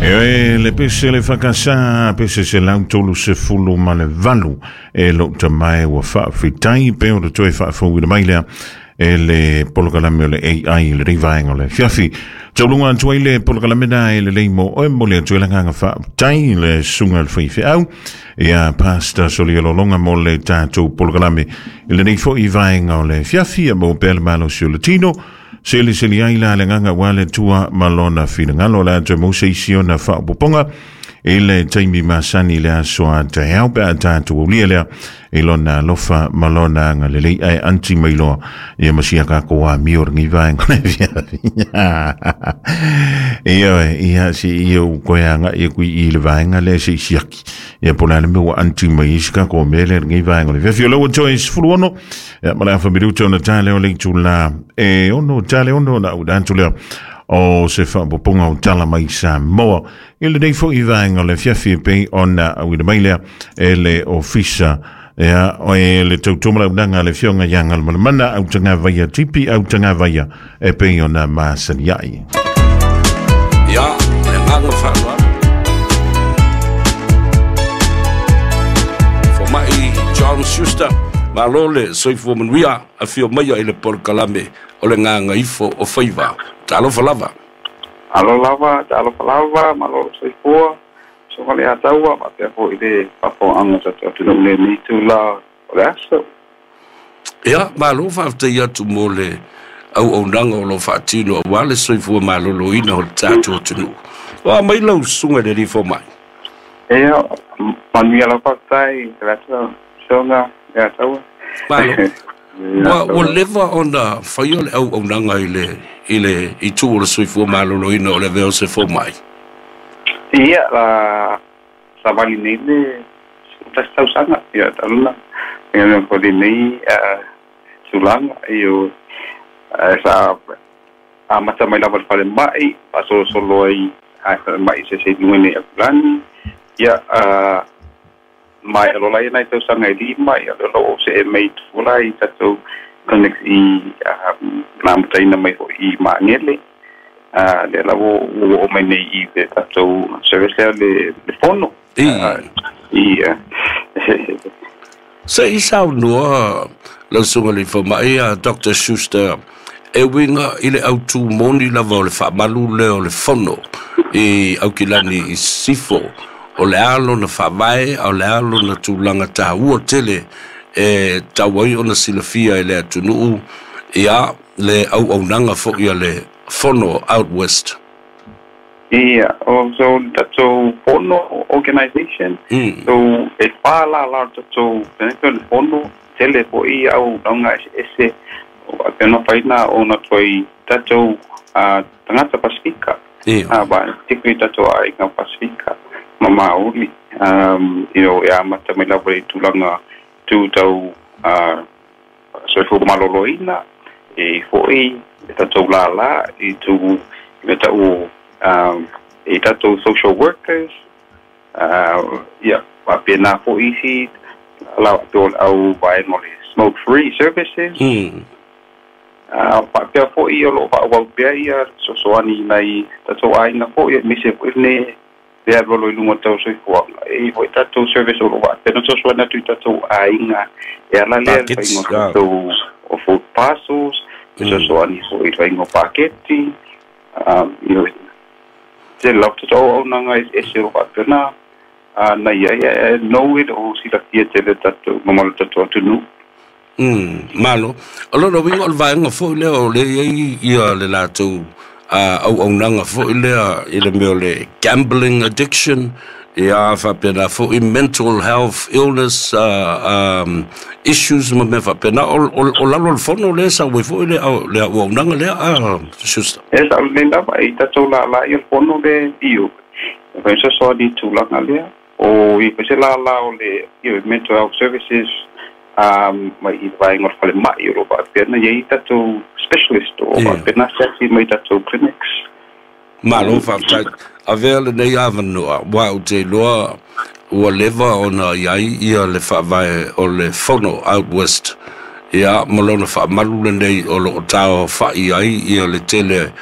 E le pese le whakasa, pese se lau tolu se fulu ma le valu. E lo ta mai ua whaawhitai, pe o le toe whaafau i le mailea. E le polokalame o le AI le rivaenga o le fiafi. Taulunga atu ai le polokalame na e le leimo o e mole atu e langanga whaaftai le sunga le whaiwheau. Ia Pastor Solia Lolonga mo le tātou polokalame. I le nei fo i vaenga o le fiafi a mo pele malo si o le tino. Seli seli ai la le nganga wa le tua malona finangalo la te mo se isi ona whaapoponga. I le taimi masani le aso a te hau pe a tātou ulia lea. I lona lofa malona anga le lei ai anti mailoa. Ia masia ka koa mio rangi vaenga le fiafi. Ia ia si ia u koe anga ia kui i le vaenga le se isiaki. Ia pola le mea anti mai isi ka ko mele rangi vaenga le fiafi. O lau Joyce Fuluono. Ia mala afa minuto na tale o le tula. E ono tale ono na udantu lea. O se whaapoponga o tala mai Samoa. I le nei fo i vaenga le fiafi pe ona awina mai lea e le ofisa. Ia, o e le tautomala unanga le fionga ianga le mana au tanga vaia tipi au tanga vaia e pe ona masani ai. Ia, le nganga whanua. Fomai John Schuster, malo le soifua manuia a fio maia i le polokalame o le nganga ifo o faiva. Talofa lava. Alo lava, talofa lava, malo soifua. So le ataua, ma pea fo i le papo anga sa te atu le ni tu la o le aso. Ia, malo whaaftai atu mo le au au nanga o lo whaatino a wale soifua malolo ina o le tātou atunu. Wa mai lau sunga le rifo mai. Ia, manuia lau whaatai, te atu songa, le ataua. Malo. Wa leva ona whai o le au au nanga i le i tu o le soifua malolo ina o le veo se fo mai. Ia, la savali nei le tausaga, ia taluna. Ia mea ko nei tulaga io sa a mata mai lava le fale mai, pa solo solo ai a fale mai se se lunga nei akulani. Ia mai alo lai nai tausaga e lima, ia lo o se e mei tula i tatou clinics i na mataina mai ho i Maangele. Le la wo o mai nei i le tatou service lea le fono. I Se i sau noa lau sunga le fo mai a Dr. Schuster e winga i le autu moni lava o le whaamalu le o le fono i aukilani i sifo o le alo na whaavae o le alo na tūlanga tāua tele e tauai ona silafia i le atunuu ia le au au nanga fo ia le fono out west. Ia, o so tatou fono organization. So e wha la la tatou le fono tele fo i au naunga ese o a pena whaina o na toi tatou tangata Pasifika. Ia. Ba tikri tatou ai ngā Pasifika ma Māori. You know, e amata mai lava i tulaga tū tau soifua maloloina e foi e tatou lala i tū me tau e tatou social workers ia pa pena fo isi la to au vai no le smoke free services. Pa pea fo i o lo pa au pea ia so so ani nei tatou ai na fo i mise fo ne le lo lo lunga tau soifua e foi tatou service o lo va pena so so na tu tatou ai nga e ala le Packets, fa ngo tatou o food parcels so so ani fo i fa ngo paketi you know te lau te tau au nanga e se o whapena na ia ia no it o sila fia te le tatou mamalo tatou atunu. Malo. O lona winga o le vaenga foi lea o le iai ia le latou au au nanga foi lea i le mea o le gambling addiction ia whapena foi mental health illness issues ma mea whapena o lalo le fono le sa ue foi le au au nanga lea Schuster. E sa le lava i tatou la la i le fono le iu. E whai so ni tulaga lea o i pese la la o le iu mental health services mai i vaenga o le fale mai o lo whapena ia i tatou specialist o whapena se mai tatou clinics. Malo whaftai, a vea le nei awanua, wa u te loa ua leva ona iai ia le whaavae o le fono out west. Ia, ma lona whaamalu le nei o lo o tau whai ai ia le tele